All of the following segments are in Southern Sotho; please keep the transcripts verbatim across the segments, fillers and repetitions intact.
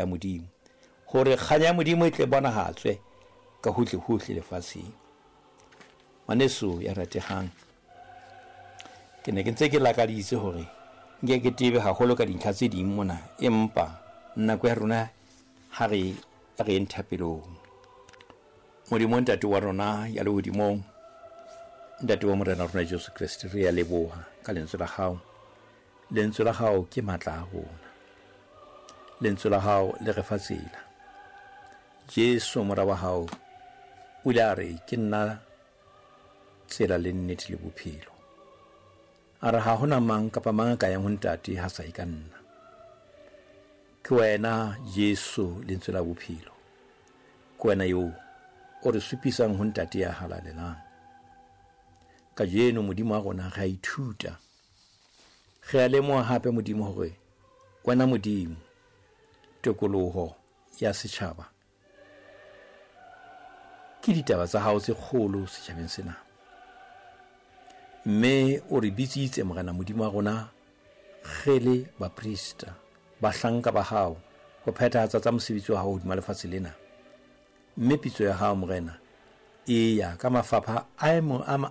ya Modimo, hore kganya ya Modimo e tle bonahatswe ka hohle hohle lefatsheng. Ngwaneso ya ratehang, ke ne ke ntse ke lakaditse hore nke ke tebe haholo ka dintlha tse ding mona, empa nako ya rona ha re re eng thapelong. Modimo Ntate wa rona ya lehodimong, Ntate wa Morena rona Jesu Kreste, re ya leboha ka lentswe la hao. Lentswe la hao ke matla a rona. Lentswe la hao le re fa tsela. Jesu mora wa hao o ile a re ke nna tsela le nnete le bophelo. A re ha hona mang kapa mang a ka yang ho Ntate ha sa e ka nna. Ke wena Jesu lentswe la bophelo. Ke wena eo o re supisang ho Ntate ya halalelang. Kajeno Modimo wa rona re a ithuta. Re a lemoha hape Modimo hore wena Modimo tokoloho ya setjhaba ke ditaba tsa hao tse kgolo setjhabeng sena. Mme o re bitsitse Morena Modimo wa rona re le baprista, bahlanka ba hao, ho phethahatsa tsa mosebetsi wa hao hodima lefatshe lena. Mme pitso ya hao Morena e ya ka mafapha a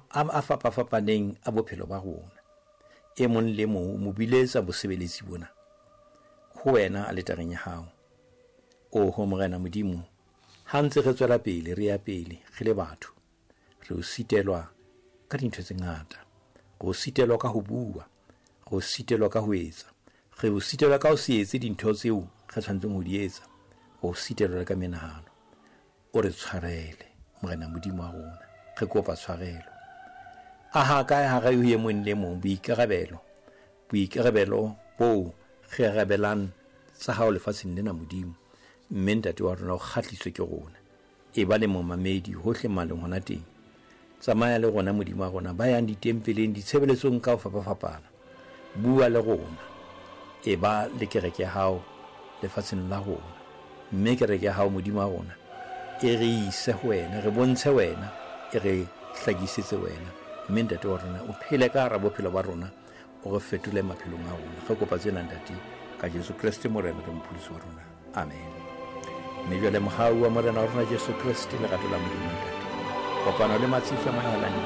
a fapafapaneng a bophelo ba rona. E mong le mong o mo biletsa bosebeletsi bona ho wena aletareng ya hao. Oho Morena Modimo, ha ntse re tswela pele re ya pele re le batho, re o sitelwa ka dintho tse ngata. Re o sitelwa ka ho bua, re o sitelwa ka ho etsa, re o sitelwa ka ho se etse dintho tseo re tshwanetseng ho di etsa, re o sitelwa le ka menahano. O re tshwarele Morena Modimo wa rona, re kopa tshwarelo. Aha kae ha re e mong le mong boikarabelo, boikarabelo bo re arabelang tsa hao lefatsheng lena Modimo. Mme Ntate wa rona o kgahliswe ke rona. E ba le momamedi hohle maleng hona teng. Tsamaya le rona Modimo wa rona, ba yang ditempeleng, ditshebeletsong ka ho fapafapana. Bua le rona. E ba le kereke ya hao lefatsheng la rona. Mme kereke ya hao Modimo wa rona e re ise ho wena, re bontshe wena, e re hlakisetse wena. Mme Ntate wa rona o phele ka hara bophelo ba rona, o re fetole maphelong a rona. Re kopa tsena Ntate ka Jesu Kreste Morena le Mopholosi wa rona. Amen. Mme jwale mohau wa Morena wa rona Jesu Kreste, lerato la Modimo Ntate, kopano le matsitso a mahala di be